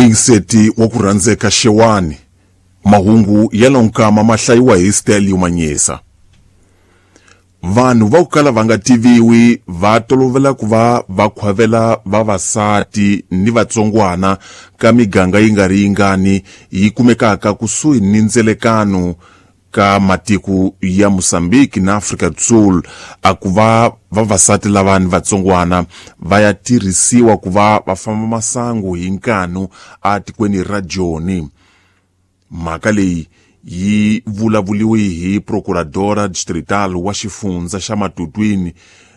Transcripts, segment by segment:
Muyingiseti wa ku rhandzeka xewani, mahungu ya lonkama ma hlayiwa hi Stelio Manyisa. Vanhu va ku kala va nga tiviwi va tolovela ku va va khwavela vavasati ni vatsongwana ka miganga yi nga ri yingani yi kumekaka kusuhi ni ndzelekano ka matiko ya Mozambique na Afrika do Sul, a ku va vavasati lava ni vatsongwana va ya tirhisiwa ku va va famba masangu hi nkanu a tikweni ra Joni. Mhaka leyi yi vulavuliwe hi procuradora distrital wa xifundza xa Matutwini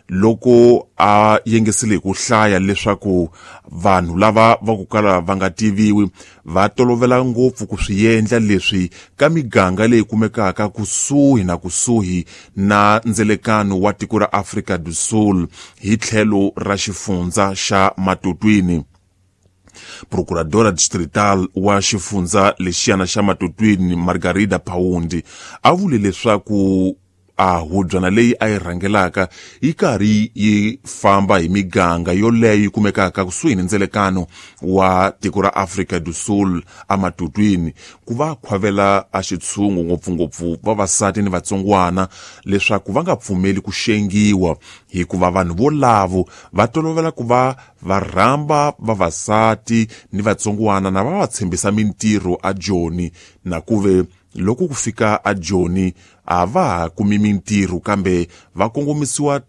loko a yengesele hi ku hlaya leswaku vanhu lava va ku kala va nga tiviwi va tolovela ngopfu ku swi endla leswi ka miganga leyi kumekaka kusuhi na kusuhi na ndzelekano wa tiko ra Afrika do Sul hi tlhelo ra xifundza xa Matutwini. Procuradora distrital wa xifundza lexiyana xa Matutwini, Margarida Paundi, a vule leswaku a hubyana leyi a yi rhangelaka yi karhi yi famba hi miganga yoleyo yi kumekaka kusuhi ni ndzelekano wa tiko ra Afrika do Sul amatutwini ku va khwavela a xitshungu, ngopfungopfu vavasati ni vatsongwana, leswaku va nga pfumeli ku xengiwa, hikuva vanhu volavo va tolovela ku va va rhamba vavasati ni vatsongwana na va va tshembisa mintirho a Joni, na kuve loko ku fika a Joni a va ha kumi mintirho kambe va kongomisiwa.